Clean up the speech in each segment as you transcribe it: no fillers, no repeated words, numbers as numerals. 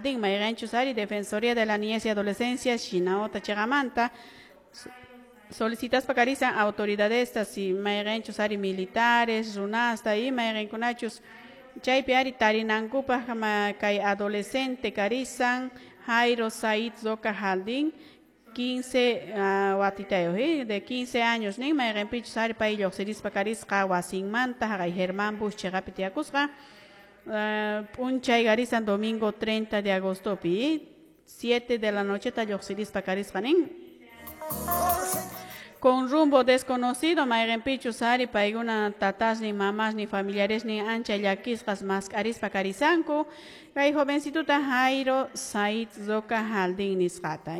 Jaldín, mayqanchus ari Defensoría de la Niñez y Adolescencia, Shinawata chiqamanta, solicitaspa karisan autoridades si mayqanchus ari militares, runasta y mayqankunachus chaypi ari tarinankupaq kay adolescente karisan Jairo Said Roca Jaldín 15 watitayuq de 15 años nin mayqanpichus ari pay lluqsirispa karisqa wasinmanta haqay Germán Bush chiqapi tiyakusqa p'unchay karisan domingo 30 de agostopi 7 de la noche ta lluqsirispa karisqa nin con rumbo desconocido mayqanpichus ari paykuna tatasnin mamasnin familiaresnin ancha llakisqas mask'arispa karisanku kay jovencituta Jairo Said Roca Jaldín nisqata.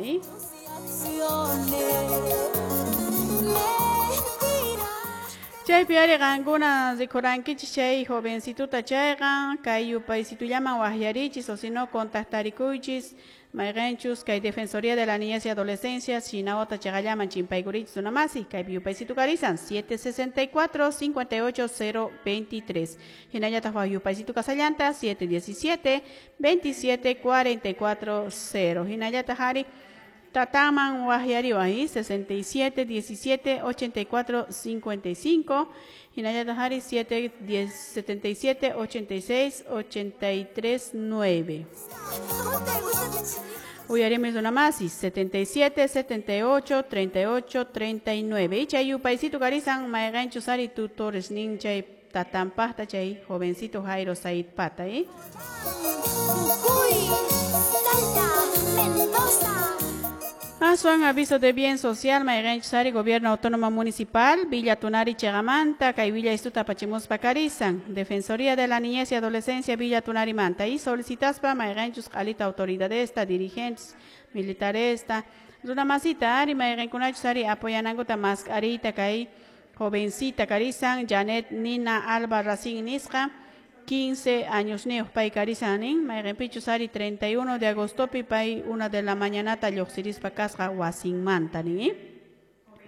Chaypi ari qankuna rikurankichis chay jovencituta chayqa kay yupaysitullaman waqyarichis o si no contactarikuychis mayqanchus kay Defensoría de la Niñez y Adolescencia Shinawata chiqallaman chimpaykurichis runamasi kay yupaysitu karisan 764 58 023 hinallataq waq yupaysitu kasallanta 717 27 44 0 hinallataq ari Tataman waqyariwan 67 17 84 55 hinallataq ari 7 10 77 86 83 9 Uyarimis runamasi 77 78 38 39 y chay yupaysito karisan mayqanchus ari tutores nin chay tatanpaqta chay jovencito Jairo Said Pata. Aswan aviso de bien social, mayqanchus ari Gobierno Autónomo Municipal, Villa Tunari chiqamanta, kay Villa Istuta pachimuspa karisan, Defensoría de la Niñez y Adolescencia Villa Tunari manta, y solicitaspa mayqanchus q'alita autoridadesta, dirigentes, militaresta, runamasita ari mayqankunachus ari apoyanankuta mask'arita kay jovencita karisan, Janet Nina Alba Racín nisqa, 15 años niyuq pay karisan nin mayqanpichus ari 31 de agostopi pay 1 de la mañanata lluqsirispa kasqa wasinmanta nin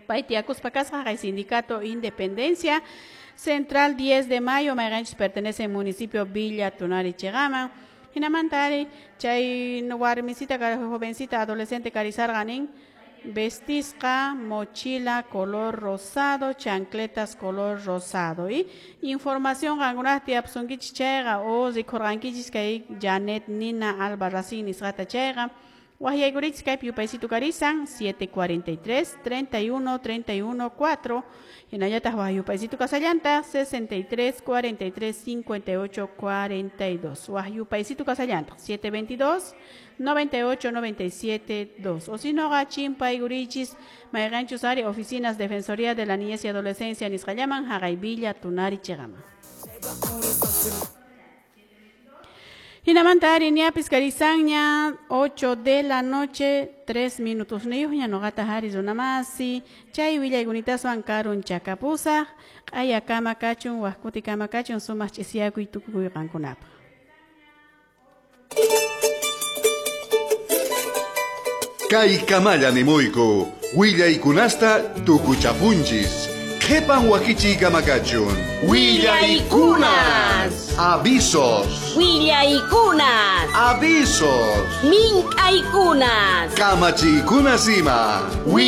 pay tiyakuspa kasqa kay Sindicato Independencia Central 10 de mayo mayqanchus pertenece al municipio Villa Tunari chiqaman hinamanta ari chay warmisita jovencita adolescente karisarqa nin vestisqa mochila color rosado, chancletas color rosado. Y información qankunaq tiyapusunkichis chayqa o rikurqankichis kay Janet Nina Alba Racín nisqata chayqa waqyaykurichis kaypi yupaysitu karisan 743 31 31 4 hinallataq waq yupaysitu kasallanta 63 43 58 42 waq yupaysitu kasallanta 722 98 97 2 o si no chimpaykurichis mayqanchus ari oficinas Defensoría de la Niñez y Adolescencia nisqallaman haqay Villa Tunari chiqaman. Hinamanta ari ñapis karisanña 8 de la noche 3 minutos niyuqña nuqata hari runamasi chay willaykunataswan karun chakapusaq q'ayakama kachun waqkutikama kachun sumaq ch'isiyakuy tukuy qankunapaq. Kay kamalla nimuyku willaykunasta tukuchapunchis qhipan wakichiykama kachun Willaykunas. Avisos. Willaykunas. Avisos. Mink'aykunas. Kamachiykunas ima.